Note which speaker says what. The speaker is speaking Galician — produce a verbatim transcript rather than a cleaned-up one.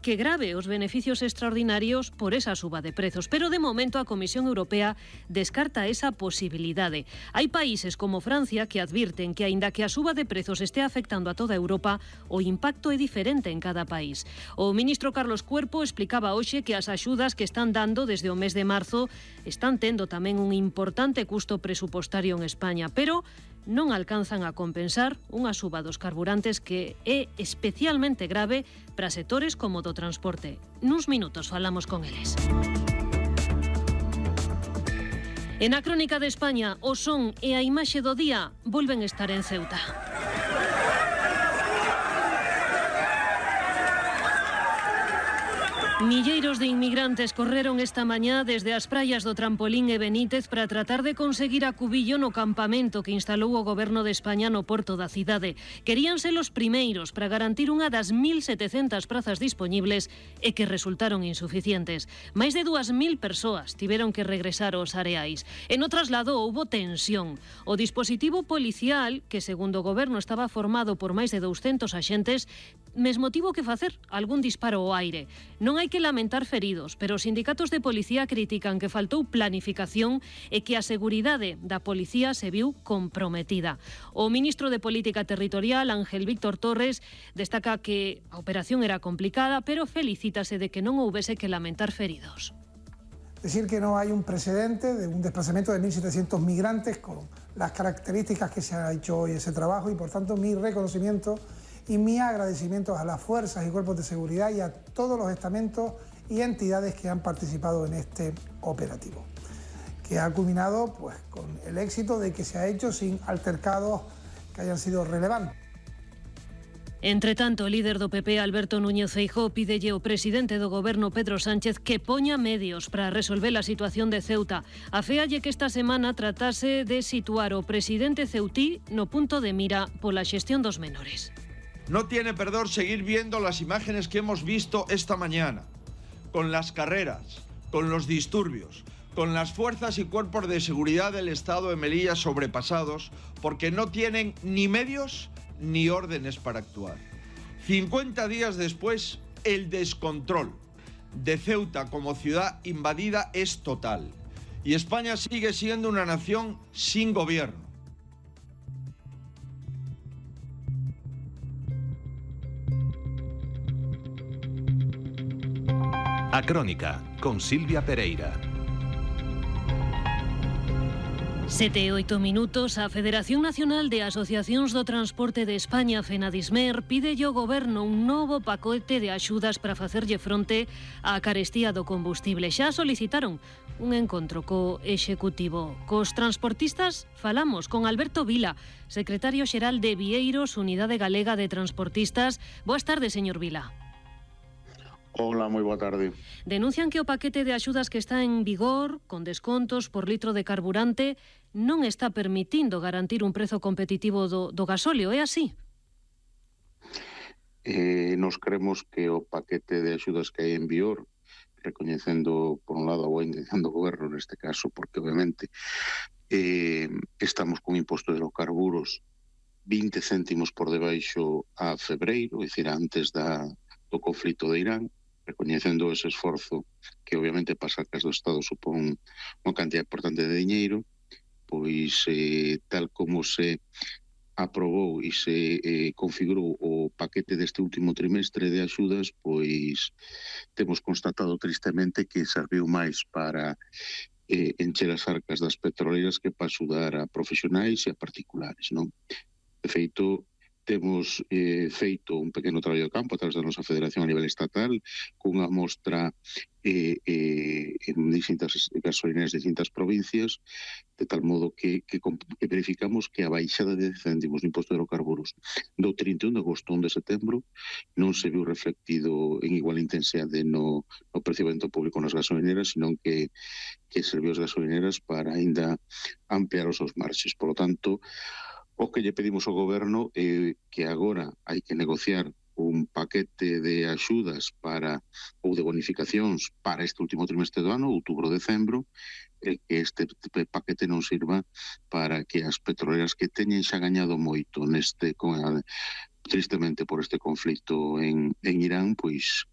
Speaker 1: que grave os beneficios extraordinarios por esa suba de prezos. Pero de momento a Comisión Europea descarta esa posibilidade. Hai países como Francia que advirten que, aínda que a suba de prezos este afectando a toda Europa, o impacto é diferente en cada país. O ministro Carlos Cuerpo explicaba hoxe que as axudas que están dando desde o mes de marzo están tendo tamén un importante custo presupostario en España, pero non alcanzan a compensar unha suba dos carburantes que é especialmente grave para sectores como do transporte. Nuns minutos falamos con eles. E na Crónica de España, o son e a imaxe do día volven estar en Ceuta. Milleiros de inmigrantes correron esta mañá desde as praias do Trampolín e Benítez para tratar de conseguir acubillo no campamento que instalou o Goberno de España no porto da cidade. Querían ser os primeiros para garantir unha das mil setecentas prazas dispoñibles e que resultaron insuficientes. Máis de dúas mil persoas tiveron que regresar aos areais. E no traslado houbo tensión. O dispositivo policial, que segundo o Goberno estaba formado por máis de douscentos axentes, mesmo tivo que facer algún disparo ao aire. Non hai que lamentar feridos, pero os sindicatos de policía critican que faltou planificación e que a seguridade da policía se viu comprometida. O ministro de Política Territorial, Ángel Víctor Torres, destaca que a operación era complicada, pero felicítase de que non houbese que lamentar feridos.
Speaker 2: Decir que no hay un precedente de un desplazamiento de mil setecientos migrantes con las características que se ha hecho hoy ese trabajo y, por tanto, mi reconocimiento y mi agradecimiento a las fuerzas y cuerpos de seguridad y a todos los estamentos y entidades que han participado en este operativo, que ha culminado pues, con el éxito de que se ha hecho sin altercados que hayan sido relevantes.
Speaker 1: Entre tanto, o líder do P P, Alberto Núñez Feijóo, pídelle ao presidente do Goberno, Pedro Sánchez, que poña medios para resolver a situación de Ceuta. Aféalle que esta semana tratase de situar o presidente ceutí no punto de mira pola xestión dos menores.
Speaker 3: No tiene perdón seguir viendo las imágenes que hemos visto esta mañana, con las carreras, con los disturbios, con las fuerzas y cuerpos de seguridad del Estado de Melilla sobrepasados porque no tienen ni medios ni órdenes para actuar. cincuenta días después, el descontrol de Ceuta como ciudad invadida es total y España sigue siendo una nación sin gobierno.
Speaker 4: A Crónica, con Silvia Pereira.
Speaker 1: Sete e oito minutos. A Federación Nacional de Asociacións do Transporte de España, FENADISMER, pide ao Goberno un novo pacote de axudas para facerlle fronte á carestía do combustible. Xa solicitaron un encontro co Executivo. Cos transportistas falamos con Alberto Vila, secretario xeral de Vieiros, Unidade Galega de Transportistas. Boas tardes, señor Vila.
Speaker 5: Hola, moi boa tarde.
Speaker 1: Denuncian que o paquete de axudas que está en vigor, con descontos por litro de carburante, non está permitindo garantir un prezo competitivo do, do gasóleo, é así?
Speaker 5: Eh, nos creemos que o paquete de axudas que hai en vigor, recoñecendo, por un lado, a boa intención do goberno neste caso, porque obviamente eh, estamos con imposto de hidrocarburos vinte céntimos por debaixo a febreiro, é dicir, antes da, do conflito de Irán, recoñecendo ese esforzo que obviamente para as arcas do Estado supón unha cantidad importante de diñeiro, pois eh, tal como se aprobou e se eh, configurou o paquete deste último trimestre de axudas, pois temos constatado tristemente que serviu máis para eh, encher as arcas das petroleiras que para axudar a profesionais e a particulares, non? De feito, temos eh, feito un pequeno traballo de campo a través da nosa federación a nivel estatal cunha mostra eh, eh, en distintas gasolineras de distintas provincias, de tal modo que, que, que verificamos que a baixada de dez céntimos no imposto de hidrocarburos do trinta e un de agosto a un de setembro non se viu reflectido en igual intensidade no, no percibimento público nas gasolineras, senón que, que serviu as gasolineras para aínda ampliar os seus marxes. Por lo tanto, o que lle pedimos ao goberno é que agora hai que negociar un paquete de axudas para ou de bonificacións para este último trimestre do ano, outubro-decembro, e que este paquete non sirva para que as petroleras que teñen xa gañado moito neste, con a, tristemente por este conflito en, en Irán, pois